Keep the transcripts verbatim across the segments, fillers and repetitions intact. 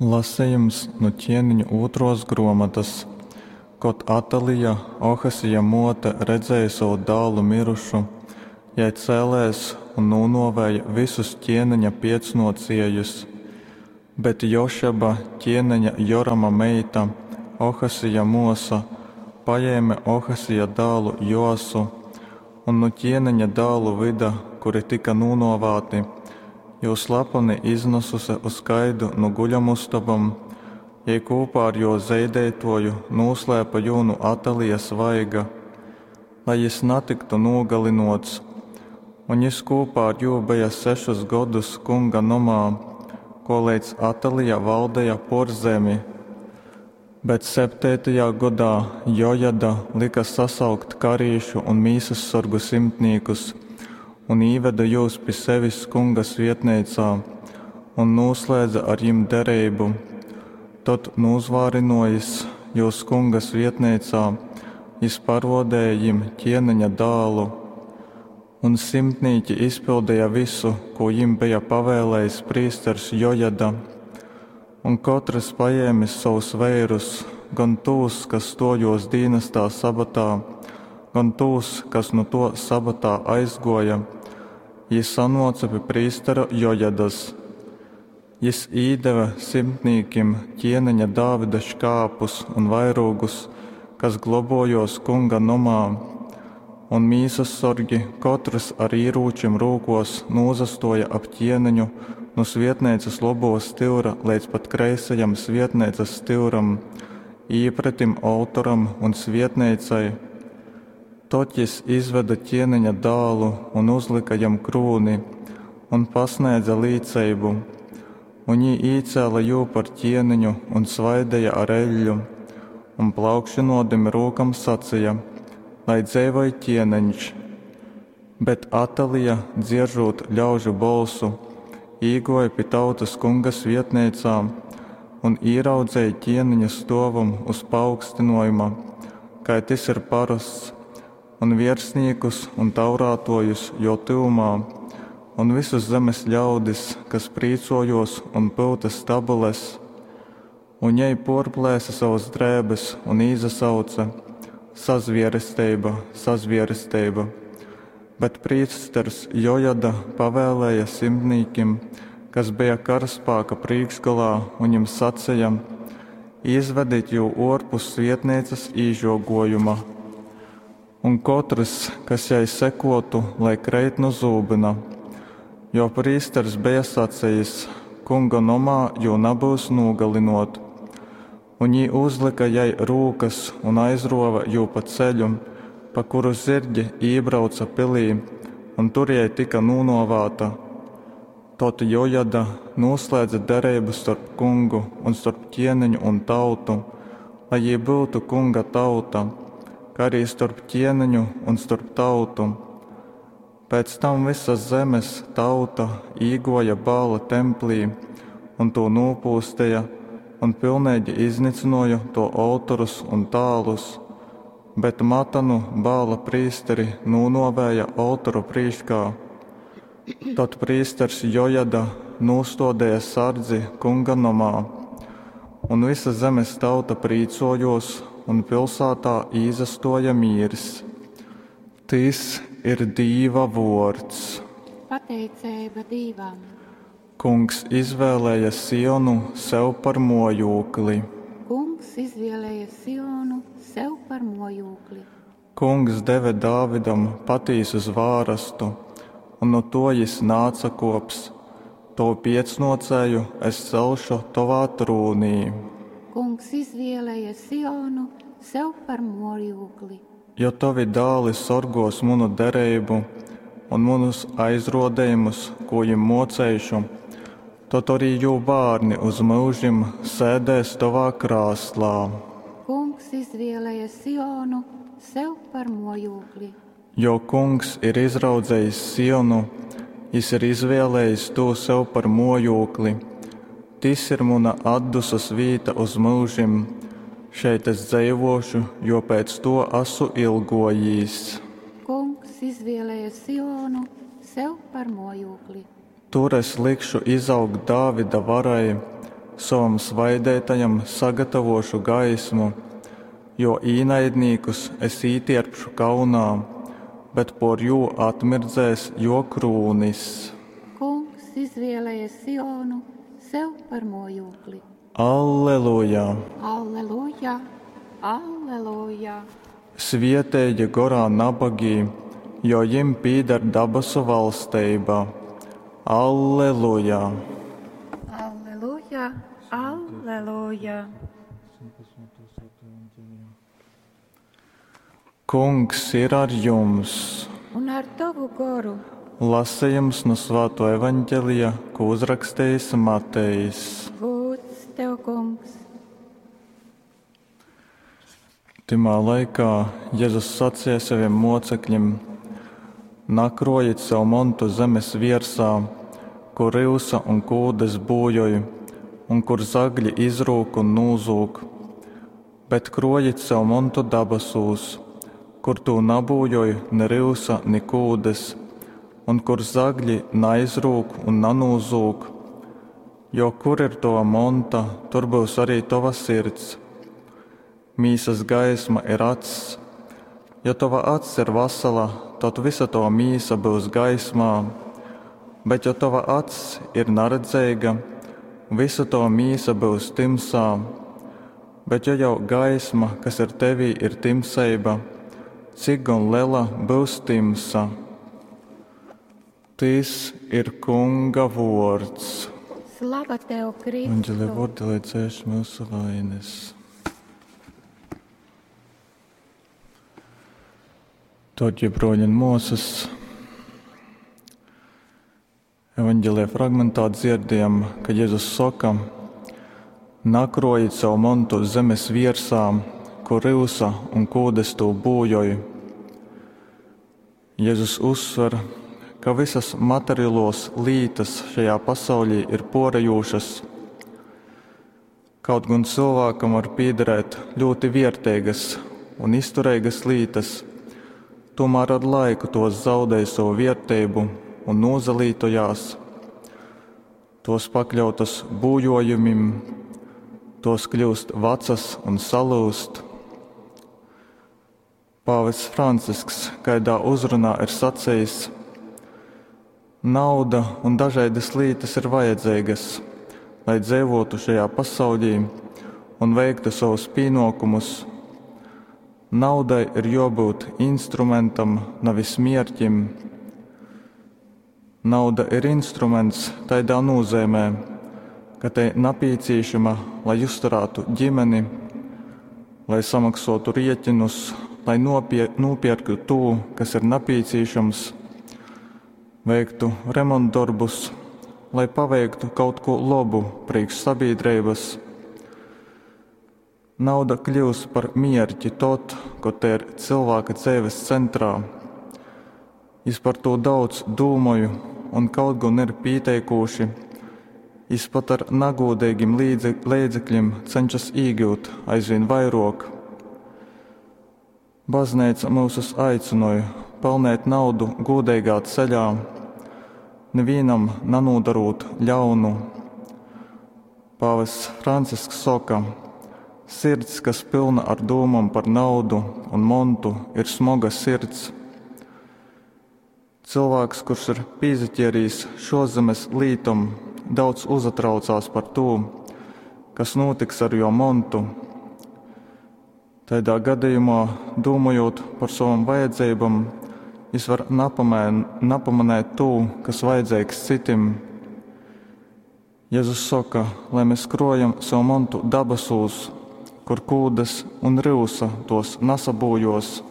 Lasejums nu Ķieniņu ūtrōs grōmotas. Kod Atalija, Ohasija mōte, redzēja sovu dālu myrušu, jei cēlēs un nūnōvēja vysus ķieneņa piecnōciejus. Bet Jošeba, ķieneņa Jorama meita, Ohasija mōsa, pajēme Ohasija dālu Joasu un nu ķieneņa dālu vyda, kuri tyka nūnōvāti, jū slaponi iznasuse uz kaidu nu guļamustobom, jei kūpā ar jō zeideitōju nūslēpe jū nu Atalijas vaiga, lai jys natyktu nūgalynōts. Un jys kūpā ar jū beja sešus godus Kunga nomā, koleidz Atalija valdeja pōr zemi. Bet septeitajā godā Jojada lyka sasaukt karīšu un mīsassorgu simtnīkus un īvede jūs pi sevis Kunga svietneicā un nūslēdze ar jim dereibu. Tod, nūzvārynōjis jūs Kunga svietneicā, jys parōdeja jim ķieneņa dālu. Un simtnīki izpildeja visu, kū jim beja pavēlējis prīsters Jojada. Un kotrys pajēmis sovus veirus, gon tūs, kas stōjōs dīnastā sabatā, gon tūs, kas nu tō sabatā aizgōja, jī sanōce pi prīstera Jojadas. Jys īdeve simtnīkim ķieneņa Dāvida škāpus un vairūgus, kas globōjōs Kunga nomā. Un mīsassorgi, kotrys ar īrūčim rūkōs, nūsastōja ap ķieneņu nu svietneicas lobō styura leidz pat kreisajam svietneicas styuram, īpretim oltoram un svietneicai. Tod jys izvede ķieneņa dālu un uzlyka jam krūni un pasnēdze līceibu. Un jī īcēle jū par ķieneņu un svaideja ar eļļu, un plaukšynōdami rūkom saceja: Lai dzeivoj ķieneņš! Bet Atalija, dzieržūt ļaužu bolsu, īgōja pi tautas Kunga svietneicā un īraudzeja ķieneņu stōvam uz paaugstynōjuma, kai tys ir parosts, un viersnīkus un taurātōjus jō tyvumā, un vysus zemes ļaudis, kas prīcōjōs un pyute stabules. Un jei pōrplēse sovas drēbes un īsasauce: Sazvieresteiba, sazvieresteiba! Bet prīsters Jojada pavēlēja simtnīkim, kas beja karaspāka prīškgolā, un jim saceja: Izvedit jū ōrpus svietneicas īžogōjuma. Un kotrys, kas jai sekōtu, lai kreit nu zūbyna. Jo prīsters beja sacejis: Kunga nomā jū nabyus nūgalynōt. Un jī uzlyka jai rūkas un aizrōve jū pa ceļu, pa kuru zyrgi ībrauca pilī, un tur jei tyka nūnōvāta. Tod Jojada nūslēdze dereibu storp Kungu un storp ķieneņu un tautu, lai jī byutu Kunga tauta, kai arī storp ķieneņu un storp tautu. Pēc tam vysa zemes tauta īgōja Baala templī un tū nūpūsteja un pilneigi iznycynōja tō oltorus un tālus, bet Matanu, Baala prīsteri, nūnōvēja oltoru prīškā. Tod prīsters Jojada nūstōdeja sardzi Kunga nomā, un vysa zemes tauta prīcōjōs, un pilsātā īsastōja mīrs. Tys ir Dīva vōrds. Pateiceiba Dīvam. Kungs izvēlēja Sionu sev par mōjūkli. Kungs izvēlēja Sionu sev par mōjūkli. Kungs deve Dāvidam patīsu zvārastu, un nu to jis naatsakōps: Tovu piecnōcēju es celšu tovā trūnī. Kungs izvēlēja Sionu sev par mōjūkli. Jo tovi dāli sorgōs munu dereibu un munus aizrōdejumus, kū jim mōceišu, tod arī jū bārni uz myužim sēdēs tovā krāslā. Kungs izvēlēja Sionu sev par mōjūkli. Jo Kungs ir izraudzejis Sionu, jis ir izvēlējis tū sev par mōjūkli. Tys ir muna atdusas vīta uz myužim. Šeit es dzeivōšu, jo pēc to asu ilgōjīs. Kungs izvēlēja Sionu sev par mōjūkli. Tur es likšu izaugt Dāvida varai, Sovam svaideitajam sagatavōšu gaismu, jō īnaidnīkus es ītierpšu kaunā, bet pōr jū atmirdzēs jō krūnis. Kungs izvēlēja Sionu sev par mojūkli. Alleluja! Alleluja! Alleluja! Svieteigi gorā nabagī, jo jim pīdar dabasu valsteiba. Alleluja! Alleluja! Alleluja! Kungs ir ar jums! Un ar tovu goru! Lasījums no Svāto evaņģelija, ko uzrakstījis Matejs. Gūds tev, Kungs! Tymā laikā Jēzus sacīja saviem mocekļiem: Nakrojiet sev montu zemes viersā, kur ryusa un kūdes būjoj, un kur zagļi izrūk un nūzūg, bet krojiet sev montu dabasūs, kur tū nabūjoj ne ryusa, ni kūdes, un kur zagļi naizrūk un nanūzūg. Jo kur ir tova monta, tur būs arī tova sirds. Mīsas gaisma ir acs. Ja tova acs ir vasala, tad visa tova mīsa būs gaismā, bet ja tova acs ir naredzīga, visa tova mīsa būs timsā. Bet ja jau gaisma, kas ir tevī, ir timseiba, cik gan lela būs timsa? Tys ir Kunga vōrds. Slava tev, Kristu! Evanģelia vārdi, lai dzēš mūsu vainas. Dārgie broļi un māsas, evanģēlijā fragmentā dzirdējam, ka Jēzus saka: Nakrojiet savu montu zemes viersā, kur ryusa un kūdes tū būjoj. Jēzus uzsver, ka visas materiālos lītas šajā pasaulī ir porejūšas. Kaut gan cilvēkam var piederēt ļoti vērtīgas un izturīgas lītas, tomēr ar laiku tos zaudē savu vērtību un nozalītojās. Tos pakļautas būjojumim, tos kļūst vecas un salūst. Pāvests Francisks kaidā uzrunā ir sacījis: Nauda un dažādas lietas ir vajadzīgas, lai dzīvotu šajā pasaulī un veiktu savus pienākumus. Naudai ir jābūt instrumentam, nevis mierķim. Nauda ir instruments tādā nozīmē, ka te napīcīšama, lai uzturētu ģimeni, lai samaksotu rieķinus, lai nopie, nopirktu to, kas ir napīcīšams, veiktu remontdarbus, lai paveiktu kaut ko labu priekš sabiedrības. Nauda kļūst par mierķi tot, kad te ir cilvēka dzīves centrā. Es par to daudz domāju, un kaut gan ir pieteikuši, es pat ar nagodīgiem līdzekļiem cenšas iegūt aizvien vairāk. Baznīca mūsus aicināja pelnīt naudu godīgā ceļā, nevienam nenodarot ļaunu. Pāvests Francisks saka: Sirds, kas pilna ar dūmām par naudu un montu, ir smoga sirds. Cilvēks, kurš ir pīzaķierījis šozemes lītum, daudz uzatraucās par to, kas notiks ar jo montu. Tādā gadījumā, domājot par savām vajadzībām, jis var napamēn, napamanēt to, kas vajadzīgs citim. Jēzus saka, lai mēs krojam savu montu dabasūs, kur kūdes un ryusa tos nasabūjos.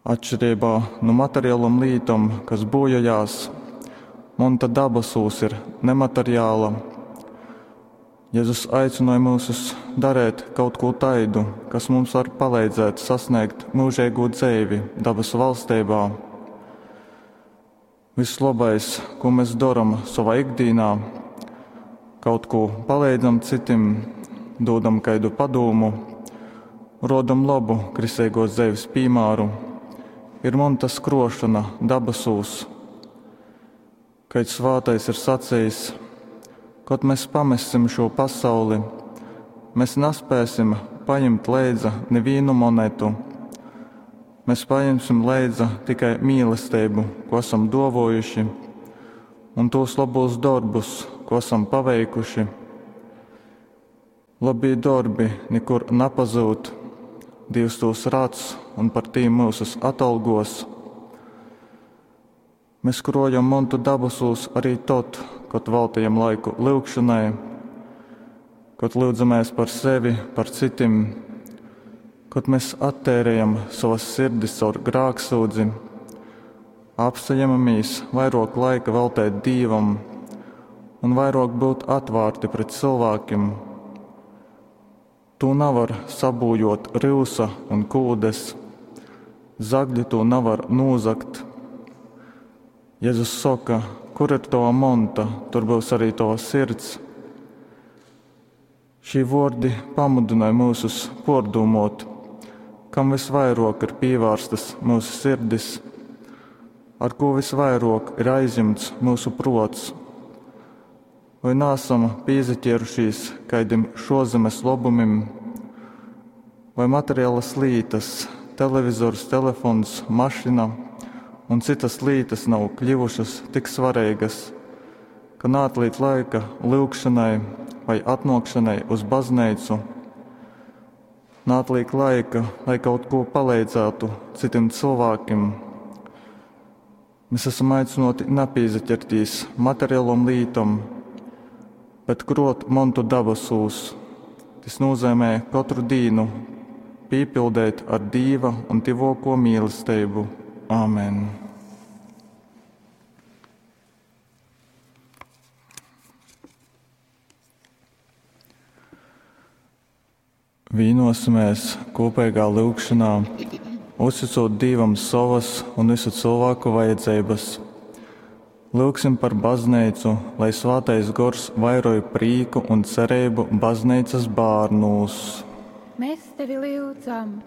Atšķirībā no materiālām lītom, kas bojājās, monta dabasūs ir nemateriāla. Jēzus aicināja mūsus darīt kaut ko taidu, kas mums var palīdzēt sasniegt mūžīgo dzīvi dabasu valstībā. Viss labais, ko mēs darām savā ikdienā, kaut ko palīdzam citim, dodam kaidu padomu, rodam labu kristīgos dzīves piemēru, ir montas krošana dabasūs. Kad svātais ir sacījis, Kod mes pamessim šū pasauli, mes naspēsim pajimt leidza nivīnu monetu. Mes pajimsim leidza tikai mīlesteibu, kū asam duovuojuši, un tūs lobūs dorbus, kū asam paveikuši. Lobī dorbi nikur napazyud, Dīvs tūs radz un par tīm myusus atalgos. Mes krojam montu dabasūs arī tod, kod veltījam laiku lyugšonai, kod lyudzamēs par sevi, par citim, kod mes atteirejam sovas sirdis caur grāksūdzi, apsajemamies vairāk laika veltēt Dīvam un vairāk būt atvērti pret cilvēkiem. Tū navar sabūjot ryusa un kūdes, zagļi tū navar nūzagt. Jēzus soka, kur ir tava monta, tur būs arī tava sirds. Šī vordi pamudināja mūsus pordūmot, kam visvairāk ir pīvērstas mūsu sirdis, ar ko visvairāk ir aizjumts mūsu prots. Vai nāsam pīzaķērušies kaidim šozemes lobumim, vai materiālas lītas, televizors, telefons, mašina un citas lītas nav kļuvušas tik svarīgas, ka neatliek laika lyugšanai vai atnākšanai uz baznīcu. Neatliek laika, lai kaut ko palīdzētu citiem cilvēkiem. Mēs esam aicināti nepīzaķertīs materiālom lītom, bet krot montu dabasūs. Tas nozīmē katru dīnu pīpildēt ar Dīva un tivoko mīlestību. Āmen! Vīnosimies kopīgā lūgšanā, uzticot Dievam savas un visu cilvēku vajadzības. Lūgsim par baznīcu, lai svētais gors vairoj prīku un cerību baznīcas bērnūs. Mēs tevi lūdzam,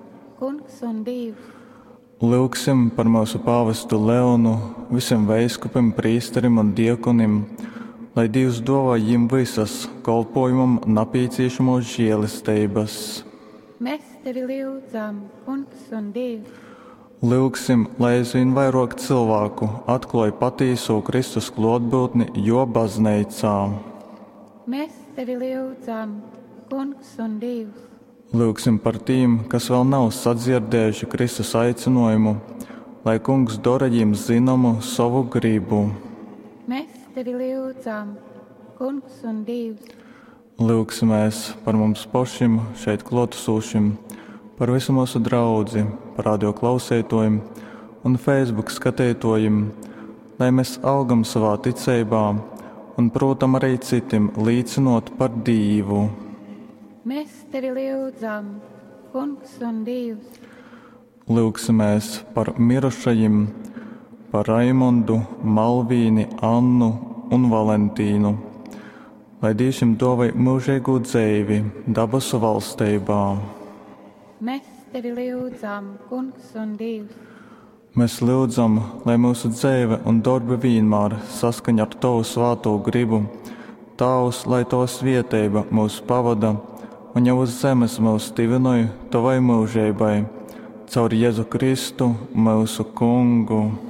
Kungs un Dievs. Lūgsim par mūsu pāvestu Leonu, visiem veiskupim, prīsterim un diekonim, lai Dievs dāvā jim visas kolpojumam napīciešamos žēlestības. Mēs tevi lūdzam, Kungs un Dievs. Lūgsim, lai aizvien vairāk cilvēku atklāj patīso Kristus klātbūtni jo baznīcā. Mēs tevi lūdzam, Kungs un Dievs. Lūgsim par tiem, kas vēl nav sadzirdējuši Kristus aicinājumu, lai Kungs dara viņiem zināmu savu gribu. Mēs tevi lūdzam, Kungs un Dievs. Lūgsimies par mums pašiem šeit klātesošiem, par visu mūsu draudzi, par radio klausītājiem un Facebook skatītājiem, lai mēs augam savā ticībā un, protams, arī citiem līdzinot par Dievu. Mēs tevi lūdzam, Kungs un Dievs. Lūgsimies par mirušajiem, par Raimondu, Malvīni, Annu un Valentīnu, lai Dievs jums dāvāj mūžīgo dzīvi dabasu valstībā. Mēs tevi lūdzam, Kungs un Dievs. Mēs lūdzam, lai mūsu dzīve un darbi vienmēr saskaņ ar Tavu svēto gribu. Tēvs, lai Tava svieteiba mūs pavada un jau uz zemes mūs tivinoj Tavai mūžībai. Caur Jēzu Kristu, mūsu Kungu.